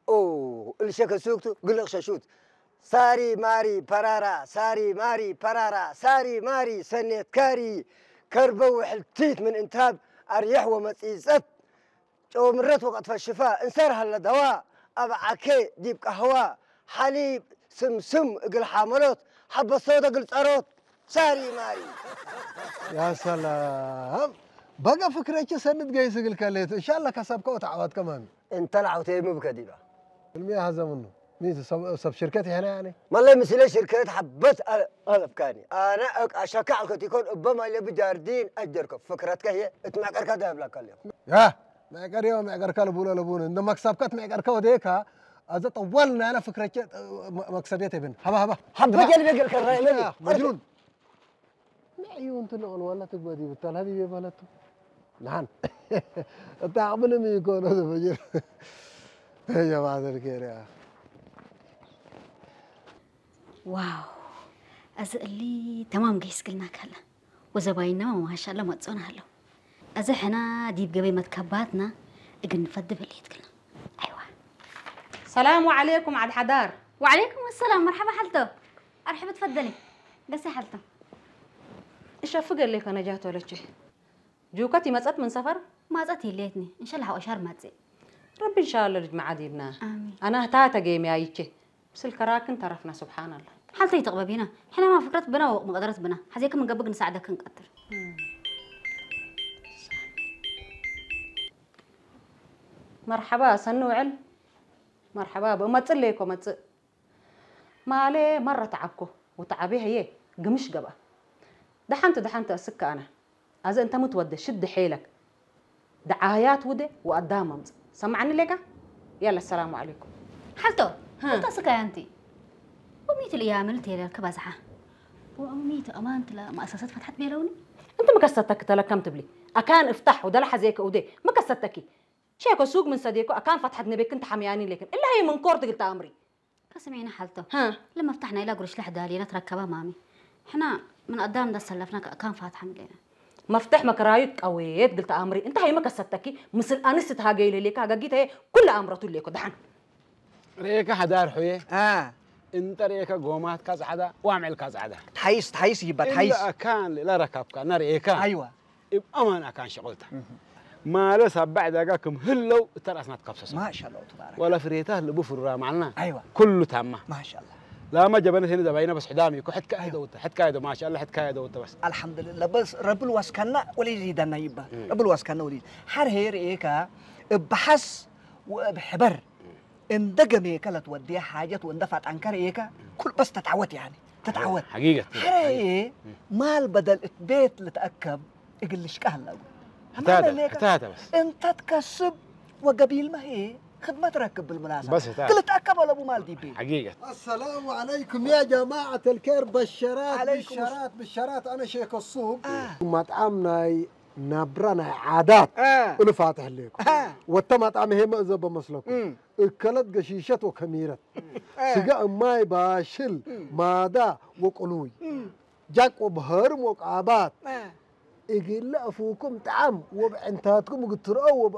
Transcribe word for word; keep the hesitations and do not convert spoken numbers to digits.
ኦ፣ እልሸ ከሱክቱ ግልቕ ሸሹት። ሳሪ ማሪ ፐራራ፣ ሳሪ ማሪ ፐራራ፣ ሳሪ ማሪ ሰኔት ካሪ፣ ከርበ ውሕልቲት ምን እንታብ፣ አርየሕ ወመጺጸት፣ ጨው ምረት ወቀጥፈ ሽፋ፣ እንሰር ሀለ ደዋ፣ አብ ዓኬ ዲብ ቀህዋ፣ ሐሊብ ስምስም እግል ሓመሎት፣ ሐበ ሶደ እግል ጸሮት፣ ሳሪ ማሪ። ያ ሰላም! በገ ፍክረቼ ሰኒ ትገይስ እግልከ ሌቱ። እንሻላ ከሰብከ ወተዓወትከ ማሚ። እንተ ለዐውቴ ምብከ ዲባ። እልሚ ሀዘ ምኑ። ሚ ሰብ፣ ሰብ ሽርከት ይሐነ ያኒ? መለይ ምስለ ሽርከት ሐበት አለ-፣ አለብካኒ። አነ እቅ አሸከ አልከቲኮን እበ ማይ ለብ ጃርዲን አጀርከ። ፍክረትከ ህዬ እት መዕቀርከ ዳብላከ ሌኩ። ያ፣ መዕቀር ዮ መዕቀርከ ልቡለ ልቡነ። እንደ መክሰብከ እት መዕቀርከ ወዴከ፣ አዘ ጠዋል ናይለ ፍክረቼ መ-፣ መክሰብየት እብን። ሀባ፣ ሀባ። ሀባ ጀልቤ ገልከ ራይ መኒ። ያ፣ መጅኑን። መዕዩ እንቱ ነቅል ወላ ትግበእ ዲብ እታል ሀቢቤ በለቱ። ነሐን እተ አቅብልም ኢኮኖ ዘፈጅር። ጀማዐት አልኬር ያ። ዋው፣ አዜ እሊ ተማም ገይስ ግልና ከለ ወዘባይናመ ማሻአላ መጽኦነ ሀለው። አዜ ሕና ዲብ ገበይ መትከባትነ እግል ንፈድብ ህሌት ግልና። አይዋ። ሰላሙ ዐሌኩም ዐድ ሐዳር። ወዐሌኩም ሰላም፣ መርሐባ ሐልቶ። አርሕብ ትፈደሊ። ገሴ ሐልቶ። እሸፍግ እሌከ ነጃት ወለቼ። ጁከት ይመጸት ምን ሰፈር? ማጸት ይሌትኒ። እንሸላህ ወሻር ማጽእ። ረቢ እንሻአለ ልጅ መዓ ዲብና። አሚን። አና ህታተ ጌምያይቼ። ምስል ከራክን ተረፍና፣ ሱብሓነላህ። ሐልተ ኢትቅበቢና። ሕነ ማ ፍክረት ብና ወመቅደረት ብና። ሐዜከ ምን ገብእ ንሳዕደክ እንቀድር። መርሐባ ሰኒ ውዕል። መርሐባ ብእመጽእ ሌኮ መጽእ። ማሌ መረ ተዐብኮ ወተዐቤ ህዬ ግምሽ ገብአ። ደሐንቱ ደሐንቱ አስክ አነ። አዜ እንተ ምትወዴ ሽድ ሔለክ። ደዓህያት ውዴ ወአዳም አምጽእ። ሰምዐኒ ሌካ? የለ፣ ሰላሙ ዐለይኩም። ሐልቶ፣ ሀ። ሐልቶ ስካይ አንቲ። ወሚት ለያምል ቴለልከ ባዝሓ። ወአሚት አማንት ለመአሰሰት ፈትሐት ቤለውኒ። እንቲ ሚ ከሰተኪ ተለከም ትብሊ? አካን እፍታሕ ወደለ ሐዜከ ውዴ። ሚ ከሰተኪ? ሼኮ ሱግ ምን ሰዴኮ አካን ፈትሐት ነበክን ተሐምያኒ ሌክን። እለ ሀይ ምን ኮርት ግልተ አምሪ። ከስሜነ ሐልቶ። ሀ። ለመፍታሕ ናይላ ጉርሽ ለሕዳሌነ ትረከበ ማሚ። ሕና ምን አዳም እንደ ሰለፍና ከአካን ፋትሐ ምሌነ። መፍተሕ መክራዩት ቀዌት ግልተ አምሪ። እንተ ሀይመ ከሰተኪ ምስል አንስ ትሃገይ ለሌካ ሀገጊት ሀየ ኩለ አምረቱ ሌኮ ደሐን። ርኤከ ሐዳር ሑዬ። አ። እንተ ርኤከ ጎማትካ ጸዕዳ ወአምዕልካ ጸዕዳ። ተሐይስ፣ ተሐይስ ይባ፣ እለ ተሐይስ። አካን ለረከብካ ነርኤካ። አይዋ። እብ አማን አካን ሸቅልተ። እህ። ማለ ሳባዕ ዳጋ ክም ህለው እተ ረአስና ትከብሰሰ። ማሻአላህ ተባረክ። ወለ ፍሬታ ልቡ ፍሩራ ማልና። አይዋ። ኩሉ ታማ። ማሻአላህ። ላማ ጀበነት ህኒ ዘባይነ በስ ሕዳም ይኮ ሕትካ አይዋ። ደውተ፣ ሕትካ አይደ ማሻአላህ፣ ሕትካ አይደ ደውተ በስ። አልሐምዱሊላህ። በስ ረብል ወስከና ወሊ ዚዳና ይባ። እም። ረብል ወስከና ወሊ። ሐር ሄር ኤካ እብ ሐስ ወእብ ሕበር እንደ ገሜከ ለትወድየ ሓጀት ወእንደ ፋጣንከ ረኤከ፣ ኩል በስ ተትዐወት፣ ያኒ፣ ተትዐወት። ሐቂቀት። ሐረ ሐቂቀት። እዬ፣ ማል በደል እት ቤት ልትአከብ እግል ልሽቀህ ሀላ። ሕታተ፣ ማል ሌከ፣ ሕታተ በስ። እንተ ትከስብ ወገቢልመ ህዬ፣ ክድመት ረክብ ብልምናሰብ። በስ ሕታተ። ክል ልትአከብ አለቡ ማል ዲቤ። ሐቂቀት። አሰላሙ ዐለይኩም ያ ጀማዐት አልኬር፣ በሸራት፣ ዐለይኩም ብሸራት፣ ብሸራት፣ አነ ሼክ ሱቅ። አ። መጥዓም ናይ ናብራ ናይ ዓዳት አ። እሉ ፋትሕ ሌኩ። አ። ወተ መጣም ሄመ እዘ በመስለኩ። እም። እከለት ገሺሸት ወከሚረት። አ። ስጋ እማይ ባሽል እም። ማዳ ወቅሉይ። እም። ጃቅ ወበህርም ወቃባት። አ። እግለ አፉኩም ጠዓም ወብዕንታትኩም እግል ትርአው ወብ